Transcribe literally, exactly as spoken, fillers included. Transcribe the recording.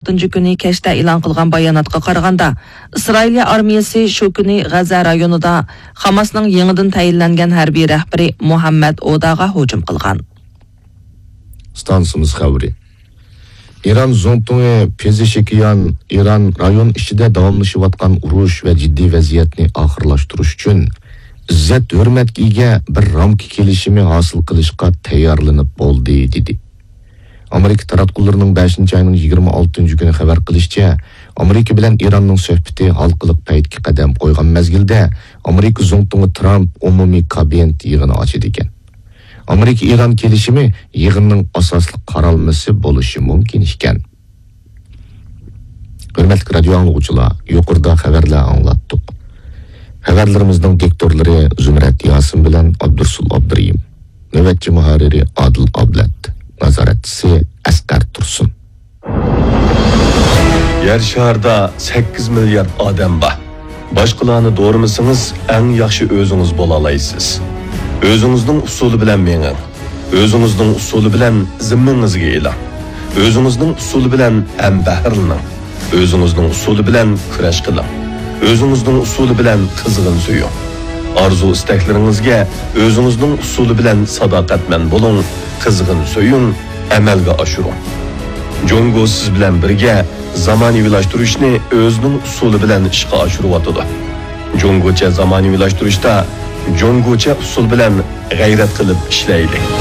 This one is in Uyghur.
ئالتىنچى كۈنى كەچتە ئېلان قىلغان باياناتقا قارىغاندا، ئىسرائىلىيە ئارمىيەسى شۇ كۈنى غەززە رايونىدا خاماسنىڭ يېڭىدىن تەيىنلەنگەن ھەربىي رەھبىرى مۇھەممەد ئوداغا ھۇجۇم قىلغان. ئىستانسىمىز خەۋىرى. ئىران زۇڭتۇڭى پېزېشكىيان ئىران رايون ئىچىدە داۋاملىشىۋاتقان ئۇرۇش ۋە جىددىي ۋەزىيەتنى ئاخىرلاشتۇرۇش ئۈچۈن ئىززەت-ھۆرمەتكە ئىگە بىر رامكا كېلىشىمى ھاسىل قىلىشقا تەييارلىنىپ بولدى، دېدى. ئامېرىكا تاراتقۇلىرىنىڭ بەشىنچى ئاينىڭ يىگىرمە ئالتىنچى كۈنى خەۋەر قىلىشىچە، ئامېرىكا بىلەن ئىراننىڭ سۆھبىتى ھالقىلىق پەيتكە قەدەم قويغان مەزگىلدە، ئامېرىكا زۇڭتۇڭى ترامپ ئومۇمىي كابىنېت يىغىنى ئاچىدىكەن. ئامېرىكا-ئىران كېلىشىمى يىغىننىڭ ئاساسلىق قارالمىسى بولۇشى مۇمكىن ئىكەن. ھۆرمەتلىك رادىيو ئاڭلىغۇچىلار، يۇقىرىدا خەۋەرلەر ئاڭلاتتۇق. خەۋەرلىرىمىزنىڭ دىكتورلىرى زۇمرەت ياسىن بىلەن ئابدۇرسۇل ئابدۇرېھىم. نۆۋەتچى مۇھەررىرى ئادىل ئابلەت. نازارەتچىسى ئەسقەر تۇرسۇن. يەر شارىدا سەككىز مىليارد ئادەم بار. باشقىلارنى دورىمىسىڭىز، ئەڭ ياخشى ئۆزىڭىز بولالايسىز. ئۆزىڭىزنىڭ ئۇسۇلى بىلەن مېڭىڭ. ئۆزىڭىزنىڭ ئۇسۇلى بىلەن زىممىڭىزگە ئېلىڭ. ئۆزىڭىزنىڭ ئۇسۇلى بىلەن ھەمبەھىرلىنىڭ. ئۆزىڭىزنىڭ ئۇسۇلى بىلەن كۈرەش قىلىڭ. ئۆزىڭىزنىڭ ئۇسۇلى بىلەن قىزغىن سۆيۈڭ. ئارزۇ-ئىستەكلىرىڭىزگە ئۆزىڭىزنىڭ ئۇسۇلى بىلەن ساداقەتمەن بولۇڭ، قىزغىن سۆيۈڭ، ئەمەلگە ئاشۇرۇڭ. جۇڭگو سىز بىلەن بىرگە زامانىۋىلاشتۇرۇشنى ئۆزىنىڭ ئۇسۇلى بىلەن ئىشقا ئاشۇرۇۋاتىدۇ. جۇڭگوچە زامانىۋىلاشتۇرۇشتا جۇڭگوچە ئۇسۇل بىلەن غەيرەت قىلىپ ئىشلەيلى.